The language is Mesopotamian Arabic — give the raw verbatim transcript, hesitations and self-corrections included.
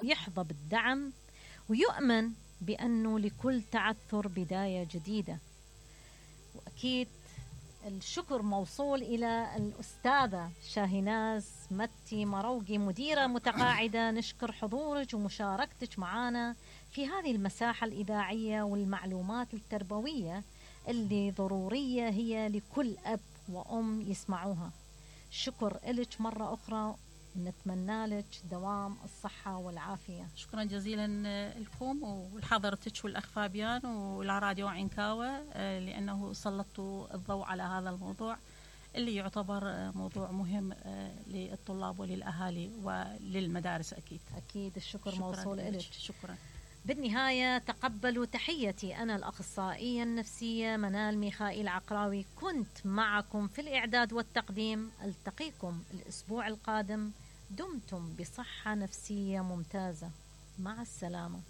يحظى بالدعم ويؤمن بأنه لكل تعثر بداية جديدة. وأكيد الشكر موصول إلى الأستاذة شاهناز متي مروقي، مديرة متقاعدة. نشكر حضورك ومشاركتك معنا في هذه المساحة الإذاعية والمعلومات التربوية اللي ضرورية هي لكل أب وأم يسمعوها. شكر لك مرة أخرى، نتمنى لك دوام الصحة والعافية. شكرا جزيلا لكم ولحضرتك والأخ فابيان والراديو عنكاوة، لأنه سلطوا الضوء على هذا الموضوع اللي يعتبر موضوع مهم للطلاب وللأهالي وللمدارس. أكيد أكيد الشكر موصول لك. شكرا. بالنهاية تقبلوا تحيتي، أنا الأخصائية النفسية منال ميخائيل عقراوي، كنت معكم في الإعداد والتقديم. ألتقيكم الأسبوع القادم، دمتم بصحة نفسية ممتازة. مع السلامة.